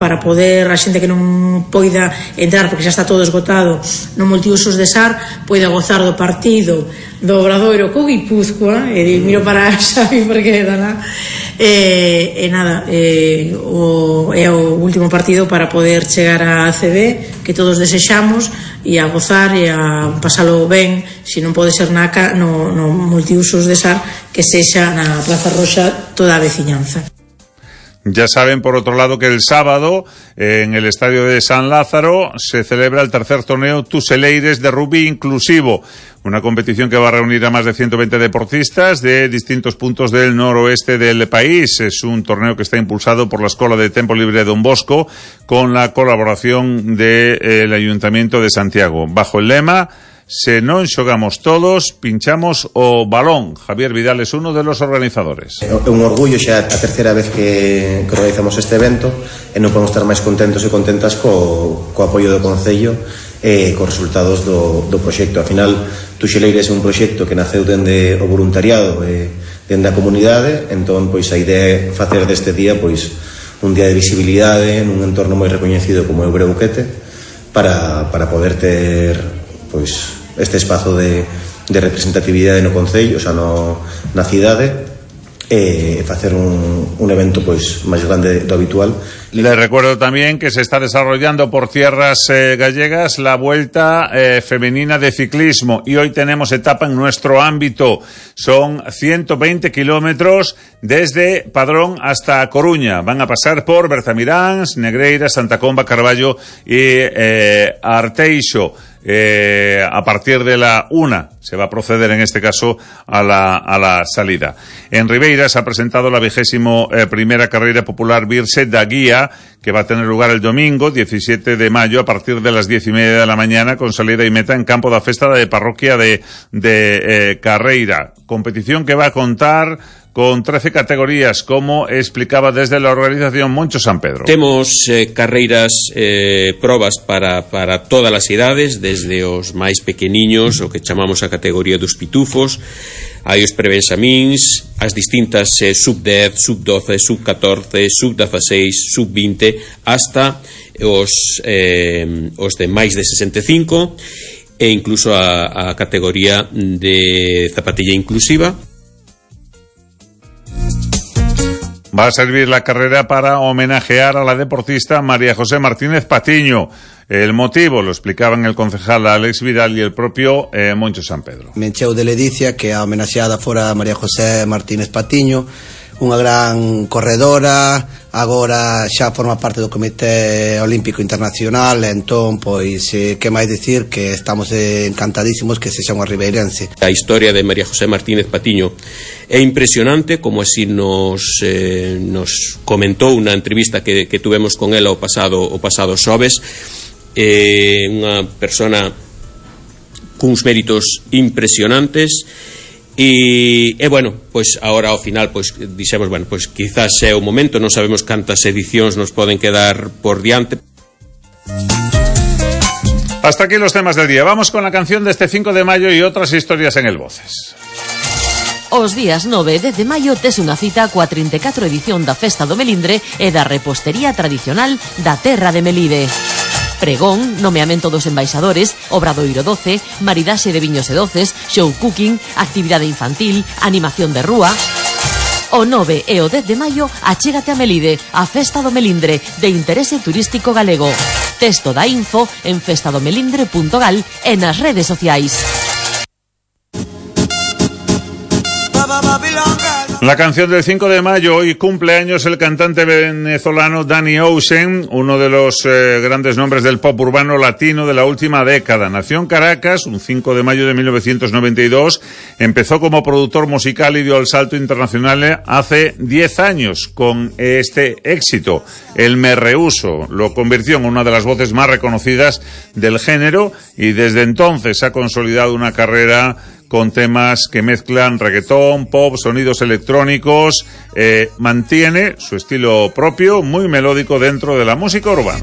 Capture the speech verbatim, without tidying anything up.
para poder a xente que non poida entrar porque xa está todo esgotado no multiusos de Sar poida gozar do partido do Obradoiro co Guipúzcoa. E miro para Xavi porque dala e, e nada e, o, é o último partido para poder chegar a A C B que todos desexamos e a gozar e a pasalo ben, se non pode ser na, no, no multiusos de Sar, que sexa na Plaza Roxa toda a veciñanza. Ya saben, por otro lado, que el sábado en el estadio de San Lázaro se celebra el tercer torneo Tuseleires de rugby inclusivo, una competición que va a reunir a más de ciento veinte deportistas de distintos puntos del noroeste del país. Es un torneo que está impulsado por la Escuela de Tempo Libre Don Bosco con la colaboración del Ayuntamiento de Santiago, bajo el lema "Se non xogamos todos, pinchamos o balón". Javier Vidal es uno de los organizadores. É un orgullo xa a terceira vez que, que organizamos este evento e non podemos estar máis contentos e contentas co, co apoio do Concello e cos resultados do, do proxecto. Ao final, Tuseleires é un proxecto que naceu dende o voluntariado e dende a comunidade, entón pois a idea é facer deste día pois un día de visibilidade nun entorno moi recoñecido como é o Breuquete para, para poder ter pois este espazo de, de representatividade no Concello, o sea, no, na cidade, e facer un, un evento pois máis grande do habitual. Les recuerdo también que se está desarrollando por tierras eh, gallegas la Vuelta eh, Femenina de Ciclismo y hoy tenemos etapa en nuestro ámbito. Son ciento veinte kilómetros desde Padrón hasta Coruña. Van a pasar por Berzamiráns, Negreira, Santa Comba, Carballo y eh, Arteixo. Eh, a partir de la una se va a proceder en este caso a la, a la salida. En Ribeira se ha presentado la vigésimo eh, primera carrera popular Virse da Guía, que va a tener lugar el domingo diecisiete de mayo a partir de las diez y media de la mañana, con salida y meta en campo da festa de parroquia de, de eh, Carreira. Competición que va a contar con trece categorías, como explicaba desde la organización Moncho San Pedro. Temos eh, carreiras, eh, probas para, para todas as idades, desde os máis pequeniños, o que chamamos a categoría dos pitufos, hai os prebenxamíns, as distintas eh, sub dez, sub doce, sub catorce, sub dezaseis, sub vinte, hasta os, eh, os de máis de sesenta e cinco, e incluso a, a categoría de zapatilla inclusiva. Va a servir la carrera para homenajear a la deportista María José Martínez Patiño. El motivo lo explicaban el concejal Alex Vidal y el propio eh, Moncho San Pedro. Me encheu de ledicia que a homenaxeada fora María José Martínez Patiño, unha gran corredora, agora xa forma parte do Comité Olímpico Internacional, entón, pois, eh, que máis dicir que estamos encantadísimos que sexa unha ribeirense. A historia de María José Martínez Patiño é impresionante, como así nos, eh, nos comentou na entrevista que, que tuvemos con ela o pasado, o pasado xoves. É unha persona cuns méritos impresionantes. E, e bueno, pois agora ao final pois dixemos, bueno, pois quizás é o momento, non sabemos cantas edicións nos poden quedar por diante. Hasta aquí los temas del día. Vamos con la canción de este cinco de mayo y otras historias en el Voces. Os días nove e dez de maio tes unha cita coa trinta e catro edición da Festa do Melindre e da repostería tradicional da terra de Melide. Pregón, nomeamento dos embaixadores, Obradoiro doce, maridaxe de viños e doces, show cooking, actividade infantil, animación de rúa. O nove e o dez de maio achégate a Melide, a Festa do Melindre, de interese turístico galego. Texto da info en festadomelindre punto gal e nas redes sociais. La canción del cinco de mayo, hoy cumple años el cantante venezolano Danny Ocean, uno de los eh, grandes nombres del pop urbano latino de la última década. Nació en Caracas un cinco de mayo de mil novecientos noventa y dos, empezó como productor musical y dio el salto internacional hace diez años con este éxito, El Me Rehuso. Lo convirtió en una de las voces más reconocidas del género y desde entonces ha consolidado una carrera con temas que mezclan reggaetón, pop, sonidos electrónicos. Eh, mantiene su estilo propio, muy melódico dentro de la música urbana.